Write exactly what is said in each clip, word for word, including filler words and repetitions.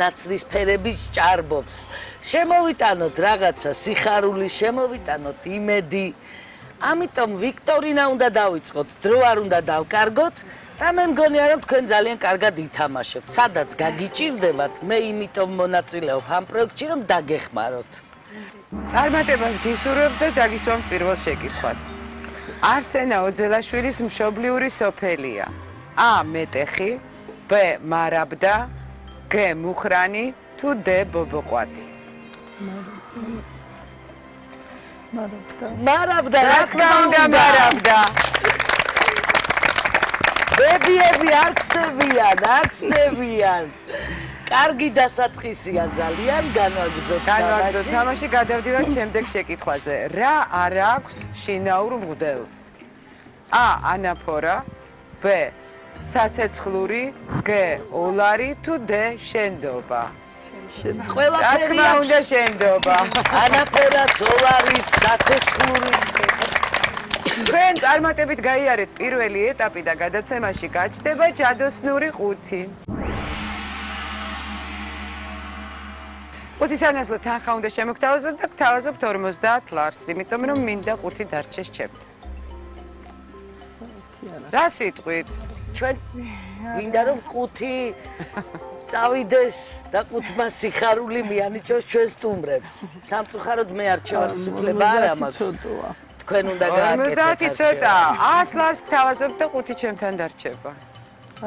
ნაცრისფერების ჭარბობს. შემოვიტანოთ რაღაცა სიხარული, შემოვიტანოთ იმედი. ამიტომ ვიქტორინა უნდა დავიწყოთ, დრო არ უნდა დავკარგოთ და მე მგონია რომ თქვენ ძალიან კარგად ითამაშებთ. სადაც გაგიჭირდებათ, მე იმიტომ მონაწილეობ ამ პროექტში რომ დაგეხმაროთ. წარმატებას გისურვებ და დაგისვამ პირველ შეკითხვას. არსენა ოძელაშვილის მშობლიური სოფელია. A. მეტეხი, B. მარაბდა, G. მუხრანი თუ D. ბობოყვათი. მარაბდა. მარაბდა, რა თქმა უნდა, მარაბდა. ბებიები არ ცდებიან, არ ცდებიან. კარგი დასაწყისია ძალიან, განვაგრძოთ თამაში. განვაგრძოთ თამაში, გადავდივართ შემდეგ შეკითხვაზე. რა არ აქვს შინაურ მღვდელს? A. ანაფორა, B. საცეცხლური, G. ოლარი თუ D. შენდობა. ყველაფერი აქვს შენდობა. ანაფორაც, ოლარიც, საცეცხლურიც. თქვენ წარმატებით გაიარეთ პირველი ეტაპი და გადაცემაში გაჩნდება ჯადოსნური ყუთი. ყუთის ანაზლო თანხა უნდა შემოგთავაზოთ და გთავაზობთ ორმოცდაათ ლარს, იმიტომ რომ მინდა ყუთი დარჩეს ჩემთან. რა სიტყვით? ჩვენ მინდა რომ ყუთი წავიდეს და ყუთმა სიხარული მიანიჭოს ჩვენ სტუმრებს. სამწუხაროდ მე არჩევანის უფლება არ მაქვს. თქვენ უნდა გააკეთოთ. ორმოცდაათი ცოტა. ას ლარს გთავაზობთ და ყუთი ჩემთან დარჩება.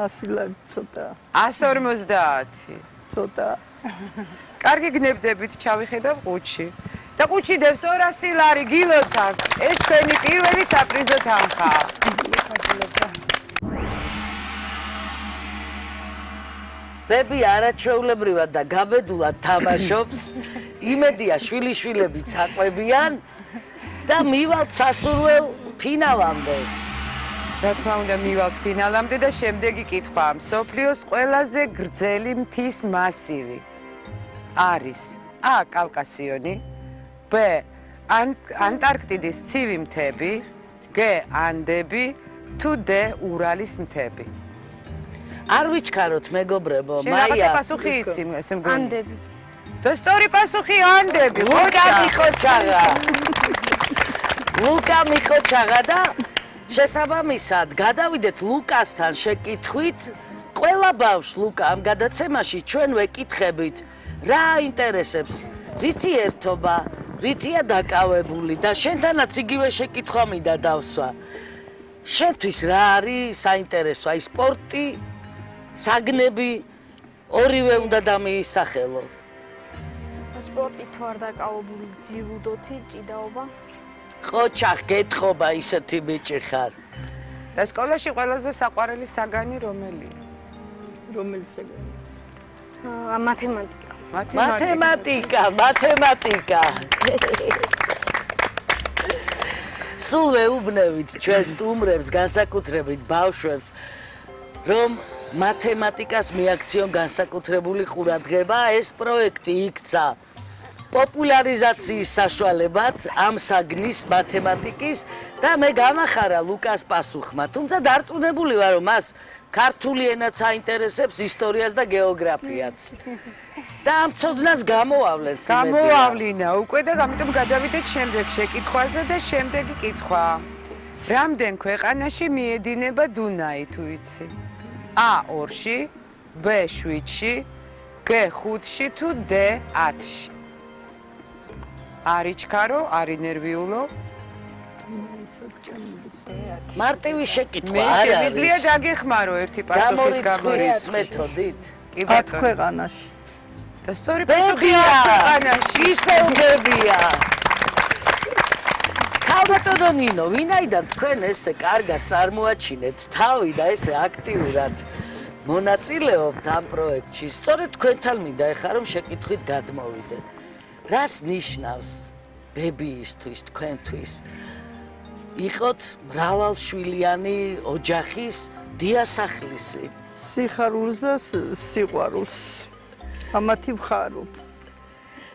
ასი ლარი ცოტა. ას ორმოცდაათი. ცოტა. კარგი გნებდებით, ჩავიხედავ ყუთში. და ყუთში დევს ორასი ლარი, გილოცავთ. ეს თქვენი პირველი საპრიზო თანხა. ბები არაჩვეულებრივად და გაბედულად თამაშობს. იმედია შვილიშვილებიც აყვებიან და მივალთ სასურველ ფინალამდე. რა თქმა უნდა, მივალთ ფინალამდე და შემდეგი კითხვა. მსოფლიოს ყველაზე გრძელი მთის მასივი არის A. კავკასიონი, B. ანტარქტიდის ცივი მთები, G. ანდები თუ D. ურალის მთები. არ ვიჩქაროთ მეგობრებო, შენ რაღაცა მაია. პასუხი იცი, ესე მგონი. ანდები. და სწორი პასუხი ანდები. ლუკა მიხოჩაღა. ლუკა მიხოჩაღა და შესაბამისად გადავიდეთ ლუკასთან შეკითხვით. ყველა ბავშვს ლუკა ამ გადაცემაში ჩვენ ვეკითხებით, რა აინტერესებს, რითი ერთობა, რითია დაკავებული და შენთანაც იგივე შეკითხვა მინდა დავსვა. შენთვის რა არის საინტერესო, აი სპორტი, საგნები, ორივე უნდა დამიისახელო. სპორტი თუ არ დაკავებული, ძიუდოთი, ჭიდაობა. ყოჩახ, გეთხოვა ისეთი ბიჭი ხარ. და სკოლაში ყველაზე საყვარელი საგანი რომელია? რომელი საგანი? აა მათემატიკა. მათემატიკა, მათემატიკა. სულ ვეუბნებით ჩვენ სტუმრებს, განსაკუთრებით ბავშვებს, რომ მათემატიკას მიაქციონ განსაკუთრებული ყურადღება. ეს პროექტი იქცა პოპულარიზაციის საშუალებად ამ საგნის მათემატიკის და მე გამახარა ლუკას პასუხმა. თუმცა დარწმუნებული ვარ, რომ მას ქართული ენაც აინტერესებს, ისტორიას და გეოგრაფიაც. და ამ ცოდნას გამოავლენს. გამოავლინა უკვე და ამიტომ გადავიდეთ შემდეგ შეკითხვაზე და შემდეგი კითხვა. რამდენ ქვეყანაში მიედინება დუნაი თუ იცი? A. ორში, B. შვიდში, G. ხუთში თუ D. ათში. არის ჩქარო, არის ნერვიულო. მარტივი შეკითხვა მე არ არის. შემიძლია დაგეხმარო ერთი პასუხის გამორიცხვის მეთოდით. კი ათ ბატონო. ქვეყანაში. და სწორი პასუხი ათ ქვეყანაში. ისევ ბებია. ქალბატონო ნინო, ვინაიდან თქვენ ესე კარგად წარმოაჩინეთ თავი და ესე აქტიურად მონაწილეობთ ამ პროექტში, სწორედ თქვენთან მინდა ეხლა რომ შეკითხვით გადმოვიდეთ. რას ნიშნავს ბებიისთვის, თქვენთვის იყოთ მრავალშვილიანი ოჯახის დიასახლისი? სიხარულს და სიყვარულს. ამათი ვხარობ.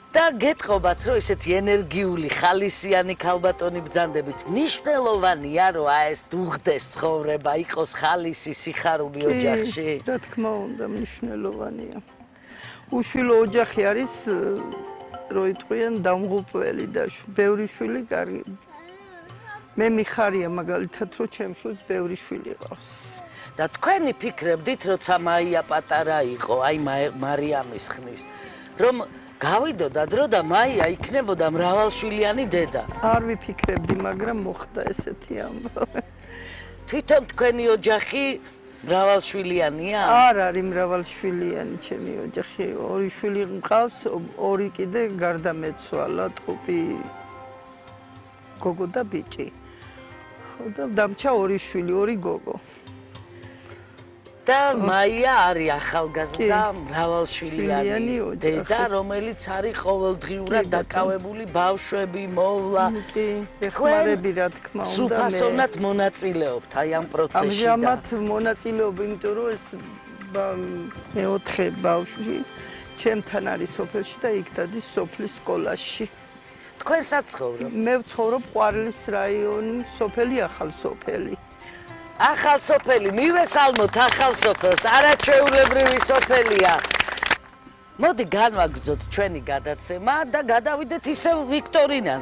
და გეტყობათ, რომ ესეთი ენერგიული, ხალისიანი ქალბატონი ბრძანდებით, მნიშვნელოვანია, რომ აი ეს დუღდეს ცხოვრება, იყოს ხალისი, სიხარული ოჯახში. რა თქმა უნდა, მნიშვნელოვანია. უშვილო ოჯახი არის რო იტყვიან დამღუპველი და ბევრი შვილი კარგი. მე მიხარია მაგალითად რომ ჩემს შვილს ბევრი შვილი ყავს. და თქვენი ფიქრებდით, როცა მაია პატარა იყო, აი მარიამის ხნის, რომ გავიდოდა დრო და მაია იქნებოდა მრავალშვილიანი დედა. არ ვიფიქრებდი, მაგრამ მოხდა ესეთი ამბავი. თვითონ თქვენი ოჯახი მრავალშვილიანია? არ არის მრავალშვილიანი ჩემი ოჯახი. ორი შვილი მყავს, ორი კიდე გარდამეცვალა, ტყუპი გოგო და ბიჭი. ხო და დამჩა ორი შვილი, ორი გოგო. და მაია არის ახალგაზრდა მრავალშვილიანი დედა, რომელიც არის ყოველდღიურად დაკავებული ბავშვები, მოვლა. კი, ეხმარები რა თქმა უნდა. სრულფასოვნად მონაწილეობთ აი ამ პროცესში და ამჟამად მონაწილეობ, იმიტომ რომ ეს მეოთხე ბავშვი ჩემთან არის სოფელში და იქ დადის სოფლის სკოლაში. თქვენ საცხოვრობ? მე ვცხოვრობ ყვარლის რაიონი, სოფელი ახალ სოფელი. ახალ სოფელი, მივესალმოთ ახალ სოფელს, არაჩვეულებრივი სოფელია. მოდი განვაგრძოთ ჩვენი გადაცემა და გადავიდეთ ისევ ვიქტორინაზე.